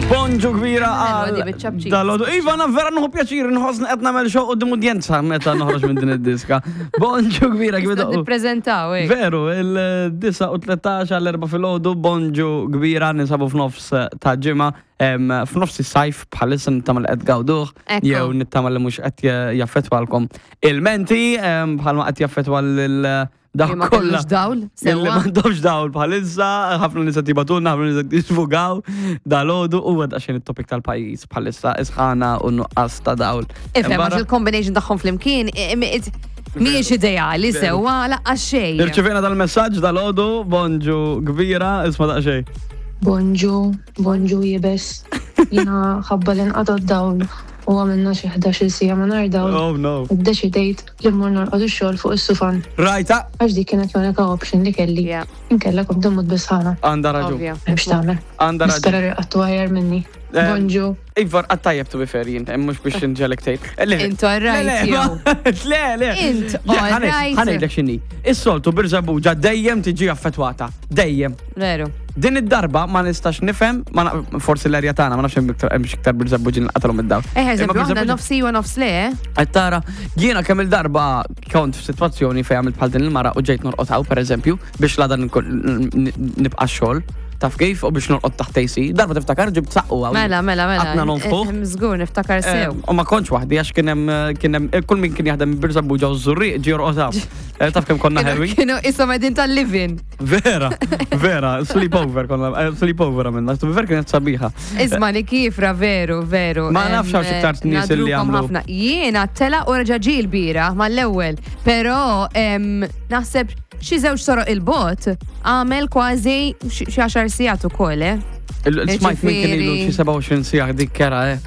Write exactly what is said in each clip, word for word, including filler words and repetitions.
Bonġu kbira Ħelwa għal di biċ-ċapċip. dal-għodu. Iva, na vera nħu pjaċir, nħossni qed nagħmel show quddiem udjenza meta noħroġ minn din id-diska. Bonġu kbira kif Nistgħu nippreżentaw hekk. Veru, il-disgħa u tlettax għall-erbgħa filgħodu, bonġu kbira, ninsabu f'nofs ta' ġimgħa, em, f'nofs is-sajf bħalissa, nittama li qed gawduh, Ekku. jew nittama li mhux qed jaffettwalkom il-menti, em, bħalma qed jaffettwa lil dak Li ma kollha. kellux dawl, Illi sewwa. m'għandhomx dawl bħalissa, ħafna nies qed jibagħtulna, ħafna nies qed jisfugaw dal-għodu u għad għaxin it-topic tal-pajjiż bħalissa, isħana u nuqqas ta' dawl. Ifhem, Barra- għax il-combination tagħhom flimkien mhijiex ideali sewwa laqqa xejn. Irċivejna dal-messaġġ dal-għodu, bonġu kbira, isma' daqsxejn. Bonġu, bonġu jibes. Jiena ħabba li nqata' d-dawl u għamilna xi ħdax-il siegħa mingħajr dawl. Oh no. Iddeċidejt li mmur norqod ix-xogħol fuq is-sufan Rajta, għax dik kienet l-unika option li kelli. Yeah. Inkella kont immut bis-sħana. Għandha raġun. Ovvja. M'hemmx tagħmel. Għandha raġun. Nispera li rqadtu aħjar minni. Eh, Bonġu. Iva, għattajjeb to be fair jien, mhux biex nġelek tgħid. Le, Int all right, le, jew. Le, le. Int Le, all right. Ħa ngħidlek x'inhi. Is-soltu Birżebbuġa dejjem tiġi affettwata. Dejjem. Veru. Din id-darba ma nistax nifhem, ma na- forsi l-erja tagħna, ma nafx hemm iktar hemm iktar Birżebbuġin qatalhom id-dawl. Eh, Imma eżempju, aħna Birżebbuġa- nofsi u nofs le, eh? Qed tara, jiena kemm il-darba kont f'sitwazzjoni fejn għamilt bħal din il-mara u ġejt norqod hawn, pereżempju, biex l-għada nibqa' xogħol. Taf kif, u biex norqod taħt A C. Darba tiftakar ġibt saqqu hawn. Mela, mela, mela. Għatna nonfħuh. Eh, Żgur, niftakar sew. U ma kontx waħdi għax kien hemm kien hemm kull min kien jaħdem Birżebbuġa u Żurrieq ġie jorqod hawn. Eh, Taf kemm konna Kienu- ħelwin? Kienu isom qegħdin tal-living. Vera, vera, sleepover konna, eh, sleepover għamilna, to be fair kienet sabiħa. Isma li kifra, veru, veru. Ma nafx hawn xi iktar nies li Nadrukom jagħmlu. ħafna. Jiena tela u reġa' ġie l-bira mal-ewwel, però em, naħseb xi żewġ soroq il-bot għamel kważi xi xi għaxar sigħat ukoll, eh? Il-smajt min kien ilu xi sebgħa u għoxrin siegħa, dik kera, eh.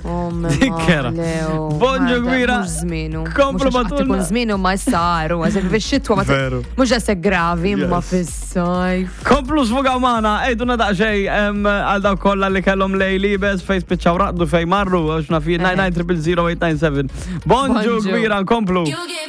Dik kera. Bonġu kbira. Mhux żmienu. Komplu Mhux għax qatt batulna. ikun żmienu ma saru, għax fix-xitwa ma Veru. mhux daqshekk gravi imma Yes. fis-sajf. Komplu sfugaw magħna, għidulna daqsxejn em, għal dawk kollha li kellhom lejl iebes, fejn spiċċaw raqdu, fejn marru, għax naf jien, nine nine triple zero eight nine seven. Bonġu Bonġu. kbira, nkomplu. You get